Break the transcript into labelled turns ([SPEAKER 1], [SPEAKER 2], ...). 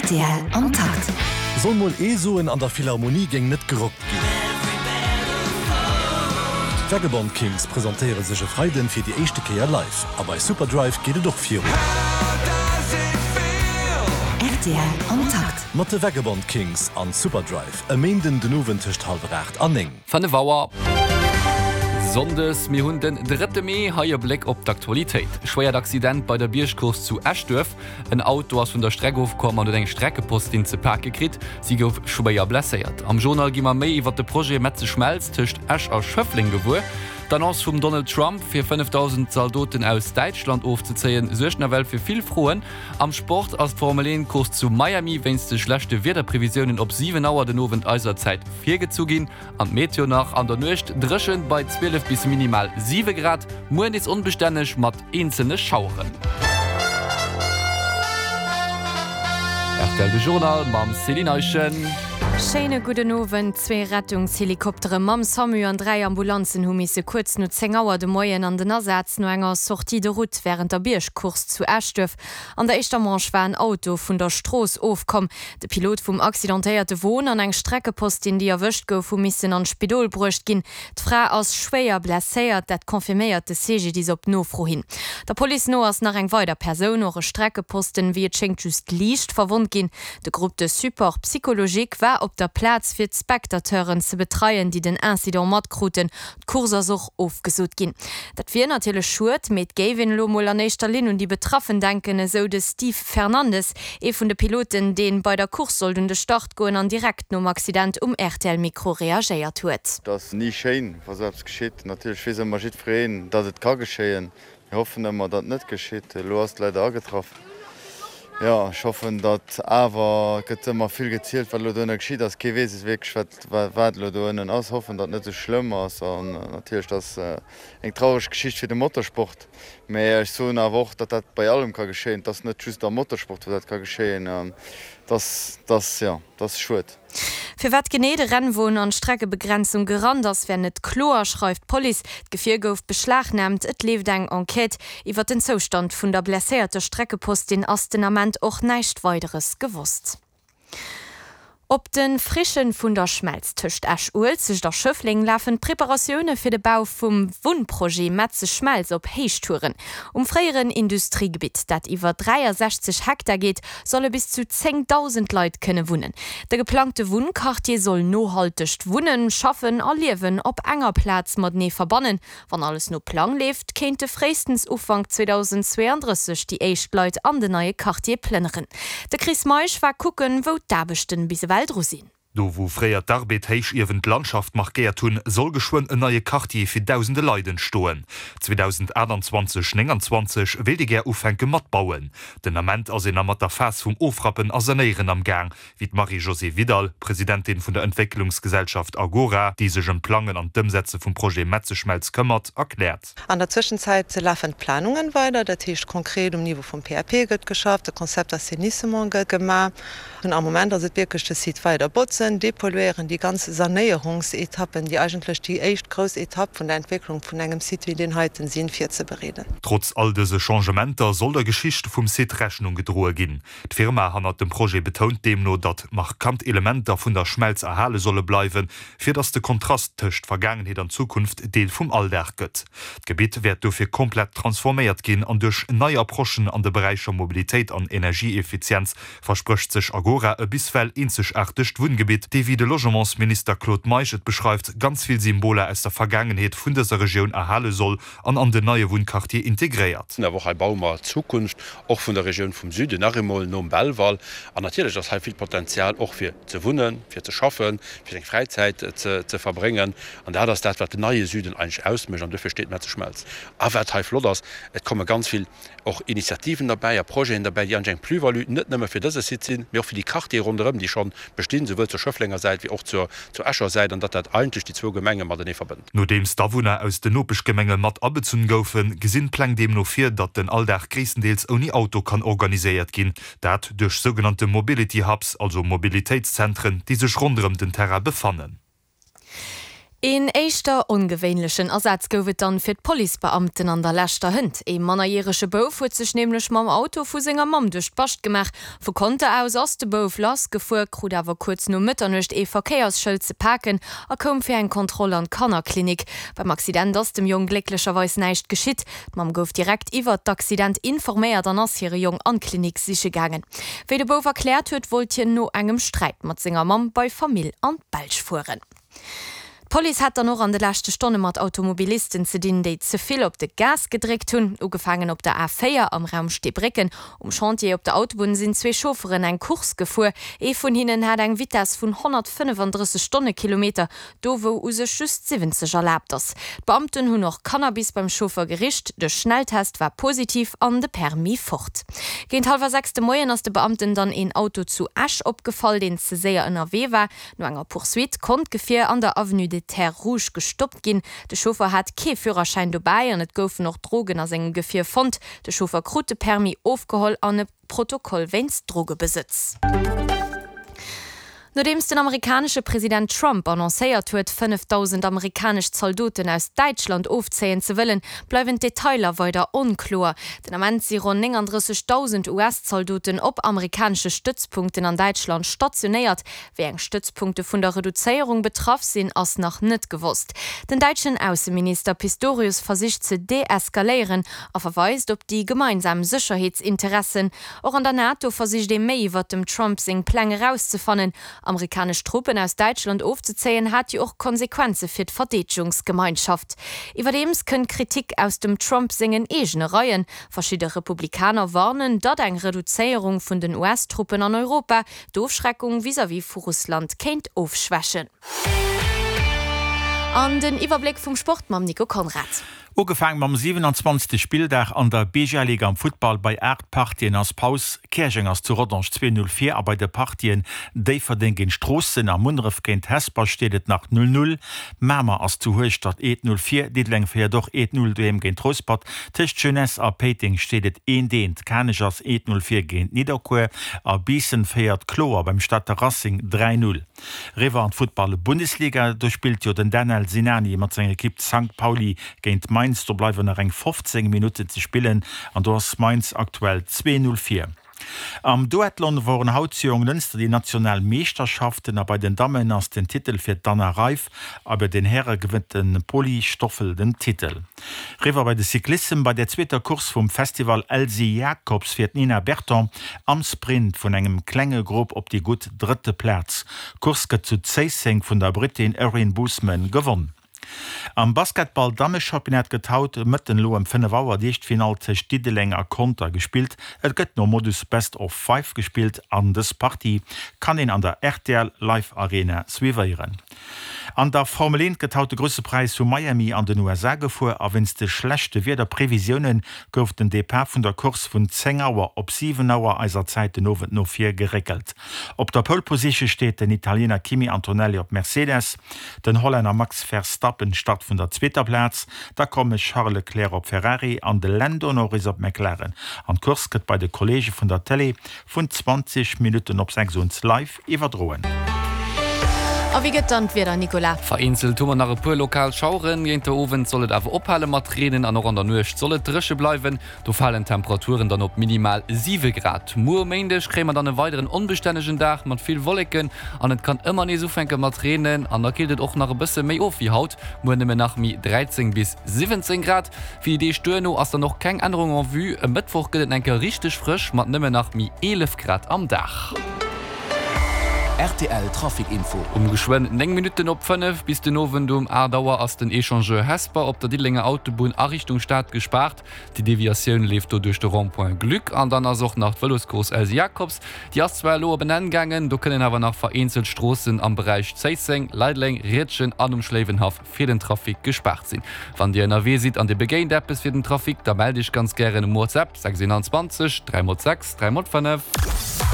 [SPEAKER 1] Rtl am Takt.
[SPEAKER 2] Soll mol ee soen, an der Philharmonie géing net gerockt ginn. D'Vagabond Kings presentéiere sech e Freiden fir déi éischte Kéier live. A bei Superdrive geet et och virun.
[SPEAKER 1] Rtl am Takt.
[SPEAKER 2] Mat de Vagabond Kings an Superdrive e Méinden den Owend tëscht hallwer 8 an 9.
[SPEAKER 3] 5 Auer Sonndes, mir hunn den drëtte Mee, hei e Bléck op d'Aktualitéit. Schwéiert Accident bei der Biergcourse zu Eschduerf, En Auto ass vun der Streck ofkomm an huet eng Streckepostin ze pake kritt. Si gouf schwéier blesséiert. Am Journal gi mer méi iwwer de Projet Metzeschmelz tëscht Esch a Schëffleng gewuer. D'Annonce vum Donald Trump, fir 5.000 Zaldoten aus Däitschland ofzezéien, suergt nawell fir vill Froen. Am Sport ass d'Formel 1 Course zu Miami wéinst de schlechte Wiederprevisiounen op 7 Auer den Owend eiser Zäit virgezu ginn. An d'Meteo nach, An der Nuecht dréchen bei 12 bis minimal 7 Grad, muer nees onbestänneg mat eenzelne Schaueren. Rtl De Journal mam Céline Eischen.
[SPEAKER 4] Schéine gudden Owend. Zwee Rettungshelikoptere mam Samu an 3 Ambulanzen hu misse kuerz no 10 Auer de Moien an den Asaz no enger Sortie de route wärend der Biergcourse zu Eschduerf. An der éischter Manche war en Auto vun der Strooss ofkomm. De Pilot vum accidentéierte Won an eng Streckepostin, déi erwëscht gouf, hu missen an d'Spidol bruecht ginn. D'Fra ass schwéier blesséiert, dat confirméiert de CGDIS op Nofro hin. Der Police no ass nach eng weider Persoun, och e Streckeposten, wéi et schéngt just liicht verwonnt ginn. De Groupe de support psychologique war op der Plaz fir d'Spectateuren ze betreien, déi den Incident matkruten. D'Course ass och ofgesot ginn. Dat wier natierlech schued, mee et géif een elo mol an éischter Linn un déi Betraffen denken, esou de Steve Fernandes, ee vun de Piloten, dee bei der Course sollt un de Start goen an direkt nom Accident um RTL-Mikro reagéiert huet.
[SPEAKER 5] Et ass ni schéin, wa sou eppes geschitt. Natierlech weess ëmmer jiddwereen, datt et ka geschéien. Mir hoffen ëmmer, datt et net geschitt. Elo ass et leider agetraff. Jo, ech hoffen, datt awer, et gëtt ëmmer vill gezielt, wat elo doënne geschitt ass. Kee weess es wierklech, wat, wat elo doënnen ass. Hoffen, datt et net esou schlëmm ass. An natierlech, et ass eng traureg Geschicht fir de Motorsport. Mä ech soen awer och, datt dat bei allem ka geschéien. Et ass net just am Motorsport, wou dat ka geschéien. Et ass, et ass, jo, et ass schued.
[SPEAKER 4] Firwat genee de Rennwon an d'Streckebegrenzung gerannt ass, wär net kloer, schreift d'Police. D'Gefier gouf beschlagnaamt, et leeft eng Enquête. Iwwer den Zoustand vun der blesséierter Streckepostin ass den Ament och näischt Weideres gewosst. Op de Frichen vun der Schmelz tëscht Esch-Uelzecht a Schëffleng lafen d'Preparatioune fir de Bau vum Wunnprojet Metzeschmelz op Héichtouren. Um fréieren Industriegebitt, dat iwwer 63 Hektar geet, solle bis zu 10.000 Leit kënne wunnen. De geplangte Wunnquartier soll nohaltegt Wunnen, Schaffen a Liewen op enger Plaz matenee verbannen. Wann alles no Plang leeft, kéinte fréistens Ufank 2032 déi éischt Leit an den neie Quartier plënneren. De Chris Meisch war kucken, wou d'Aarbechten bis ewell dru sinn.
[SPEAKER 6] Do wou fréier d'Arbed-Héichiewen d'Landschaft markéiert hunn, soll geschwënn en neie Quartier fir dausende Leit entstoen. 2028, 29 wéilt ee gär ufänke mat bauen. Den Ament ass een nach mat der Phas vum Ofrappen a Sanéieren am Gaang, wéi d'Marie-Josée Vidal, Presidentin vun der Entwécklungsgesellschaft Agora, déi sech ëm d'Plangen an d'Ëmsetze vum Projet Metzeschmelz këmmert, erkläert.
[SPEAKER 7] An der Zwëschenzäit lafen d'Planungen weider, dat heescht konkret um Niveau vum PAP gëtt geschafft, de Concept d'assainissement gëtt gemaach. An am Moment ass et wierklech de Site weider botzen, dépolluéieren, déi ganz Sanéierungsetappen, déi eigentlech déi éischt grouss Etapp vun der Entwécklung vun engem Site wéi deen heiten sinn, virzebereeden.
[SPEAKER 6] Trotz all dëse Changementer soll der Geschicht vum Site Rechnung gedroe ginn. D'Firma hannert dem Projet betount deemno, datt markant Elementer vun der Schmelz erhale solle bleiwen, fir datt de Kontrast tëscht Vergaangenheet an Zukunft Deel vum Alldag gëtt. D'Gebitt wäert dofir komplett transforméiert ginn an duerch nei Approchen an de Beräicher Mobilitéit an Energieeffizienz versprécht sech Agora e biswell eenzegaartegt Wunngebitt, dee wéi de Logementsminister Claude Meisch et beschreift, ganz vill Symboler aus der Vergaangenheet vun dëser Regioun erhale soll an an den neie Wunnquartier integréiert.
[SPEAKER 8] Awer och hei baue mer d'Zukunft, och vun der Regioun vum Süden, nach eemol nom Belval. An natierlech ass hei vill Potenzial och fir ze wunnen, fir ze schaffen, fir seng Fräizäit ze verbréngen. An dat ass dat, wat den neie Süden eigentlech ausmécht. An duerfir steet Metzeschmelz. A wat hei flott ass, et komme ganz vill och Initiativen derbäi a Projeten derbäi, déi eigentlech eng Plus-value net nëmme fir dëse Site sinn, mee och fir déi Quartiere ronderëm, déi scho bestinn, souwuel zur Schëfflenger Säit wéi och zur Escher Säit, an datt dat eigentlech déi zwou Gemenge matenee verbënnt.
[SPEAKER 6] Nodeems d'Awunner aus den Nopeschgemenge mat abezunn goufen, gesinn d'Pläng deemno vir, datt den Alldag gréisstendeels ouni Auto kann organiséiert ginn. Dat duerch sougenannte Mobility Hubs, also Mobilitéitszentren, déi sech ronderëm den Terrain befannen.
[SPEAKER 4] Een éischter ongewéinlechen Asaz gouf et dann fir d'Policebeamten an der leschter Hënt. Ee mannerjärege Bouf huet sech nämlech mam Auto vu senger Mamm duerch d'Bascht gemaach. Vu Conter aus ass de Bouf lassgefuer, krut awer kuerz no Mëtternuecht ee Verkéiersschëld ze paken a koum fir eng Kontroll an d'Kannerklinik. Beim Accident ass dem Jong glécklecherweis näischt geschitt. D'Mamm gouf direkt iwwert d'Accident informéiert an ass hire Jong an d'Klinik siche gaangen. Wéi de Bouf erkläert huet, wollt hien no engem Sträit mat senger Mamm bei Famill an d'Belsch fueren. D'Police hat dann och an de leschte Stonne mat Automobilisten ze dinn, déi ze vill op de Gas gedréckt hunn. Ugefaangen op der A4 am Raum Steebrécken. Um Chantier op der Autobunn sinn zwee Chaufferen eng Course gefuer. Ee vun hinnen hat eng Vitess vun 135 Stonnekilometer, do wou u sech just 70 erlaabt ass. D'Beamten hunn och Cannabis beim Chauffer gericht. De Schnelltest war positiv an de Permis fort. Géint hallwer 6 de Moien ass de Beamten dann een Auto zu Esch opgefall, deen ze séier ënnerwee war. No enger Poursuite konnt d'Gefier an der Avenue des Terres Rouges gestoppt ginn. De Chauffer hat kee Führerschäin dobäi an et goufen och Drogen a sengem Gefier fonnt. De Chauffer krut de Permis ofgeholl an e Protokoll wéinst Drogebesëtz. Nodeems den amerikanesche President Trump annoncéiert huet, 5.000 amerikanesch Zaldoten aus Däitschland ofzéien ze wëllen, bleiwen d'Detailer weider onkloer. Den Ament si ronn 39.000 US-Zaldoten op amerikanesche Stëtzpunkten an Däitschland stationéiert. Wéi eng Stëtzpunkte vun der Reduzéierung betraff sinn, ass nach net gewosst. Den däitschen Ausseminister Pistorius versicht ze deeskaléieren a verweist op déi gemeinsam Sécherheetsinteressen. Och an der NATO versicht ee méi iwwert dem Trump seng Pläng erauszefannen. Amerikanesch Truppen aus Däitschland ofzezéien hat jo och Konsequenze fir d'Verdeedegungsgemeinschaft. Iwwerdeems kënnt Kritik aus dem Trump sengen eegene Reien. Verschidde Republikaner warnen, datt eng Reduzéierung vun den US-Truppen an Europa D'Ofschreckung vis-à-vis vu Russland kéint ofschwächen. An den Iwwerbléck vum Sport mam Nico Conrad.
[SPEAKER 9] Ugefaang mam 27. Spilldag an der BGL-Liga am Futtball. Bei 8 Partien ass Paus. Käerjeng ass zu Rodange 2, 0 vir a bei de Partien Déifferdeng géint Stroossen a Munneref géint Hesper steet et nach 0, 0. Mamer ass zu Hueschtert 1, 0 vir, Diddeleng féiert och 1, 0 doheem géint Rouspert. Tëscht Jeunesse a Péiteng steet et 1, 1. Kanech ass 1, 0 vir géint Nidderkuer a Biissen féiert kloer beim Stater Racing 3, 0. Eriwwer an d'Futtball-Bundesliga, do spillt jo den Danel Sinani mat senger Ekipp Sankt Pauli géint Mainz. Do bleiwen nach eng 15 Minutten ze spillen an do ass Mainz aktuell 2, 0 vir. Am Duathlon woren haut zu Jonglënster déi national Meeschterschaften a bei den Dammen ass den Titel fir d'Anna Reiff a bei den Häre gewënnt de Poli Stoffel den Titel. Riwwer bei de Cyclissem, Bei der zweeter Course vum Festival Elsy Jacobs fiert d'Nina Berton am Sprint vun engem klenge Grupp op déi gutt drëtte Plaz. D'Course gëtt zu Zéisseng vun der Brittin Erin Boosman gewonn. Am Basketball-Dammechampionnat gëtt haut Mëtten elo ëm 5 Auer d'Ieschtfinall tëscht Diddeleng a Conter gespillt. Et gëtt nom Modus Best of Five gespillt an dës Partie kann een an der rtl Live Arena suivéieren. An der Formel 1 gëtt haut de Grousse Präis vu Miami an den USA gefuer a wéinst de schlechte Wiederprevisioune gouf den Depart vun der Course vun 10 Auer op 7 Auer eiser Zäit den Owend no vir geréckelt. Op der Pole Position steet den Italiener Kimi Antonelli op Mercedes. Den Hollänner Max Verstappen start vun der zweeter Plaz, da komme Charles Leclerc op Ferrari an de Lando Norris op McLaren. An d'Course gëtt bei de Kolleege vun der Tëlee vun 20 Minutten op 6 ons live iwwerdroen.
[SPEAKER 4] A wéi gëtt dann d'Wieder, Nicolas?
[SPEAKER 3] Vereenzelt hu mer nach e puer lokal Schaueren, géint de Owend soll et awer ophale mat reenen an och an der Nuecht soll et dréche bleiwen. Do falen d'Temperaturen dann op minimal 7 Grad. Muer um Méindeg kréie mer dann e weideren onbestännegen Dag mat vill Wolleken an et kann ëmmer nees ufänke mat reenen an da killt et och nach e bësse méi of wéi haut, muer nëmmen nach méi 13 bis 17 Grad. Fir déi Deeg duerno ass dann och keng Ännerung en vue, e Mëttwoch gëtt et enke richteg frësch mat nëmmen nach méi 11 Grad am Dag.
[SPEAKER 2] Rtl Trafic Info.
[SPEAKER 3] Um geschwënn 9 Minutten op 5 bis den Owend um 8 Auer ass den Echangeur Hesper op der Diddelenger Autobunn a Richtung Stad gespaart. Déi Deviatioun leeft do duerch de Rond-point Glück. An dann ass och nach d'Vëloscourse Elsy Jacobs. Déi ass zwar elo op en Enn gaangen, do kënnen awer nach vereenzelt Stroossen am Beräich Zéisseng, Leideleng, Riedgen an um Schléiwenhaff fir den Trafic gespaart sinn. Wann Dir ënnerwee sidd an Dir begéint eppes fir den Trafic, da mellt Iech ganz gären um WhatsApp 621 3 x 6 3 x 5.